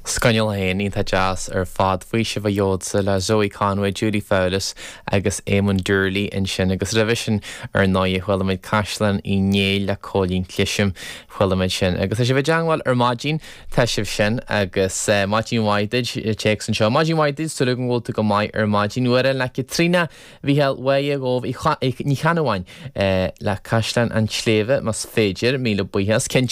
Scannal 1, iontach deas ar fad. Faoiseamh a Gheobhadsa le Zoe Conway, Julie Fowlis agus Éamonn Doorley ansin agus roimhe sin ar ndóighe chuala muid Caisleán Uí Néill le Cóilín Clisim. Chuala muid sin. Agus tá sibh i dteangmháil ar maidin, tá sibh sin agus maidin mhaith duit, téacs anseo. Maidin mhaith duit, súil agam go bhfuil tú go maith ar maidin. Uair le Caitríona Mhícheáil Mháire Dhubh Ní Cheannabháin le Caisleán an tSléibhe más féidir. Míle buíochas. Cinnte.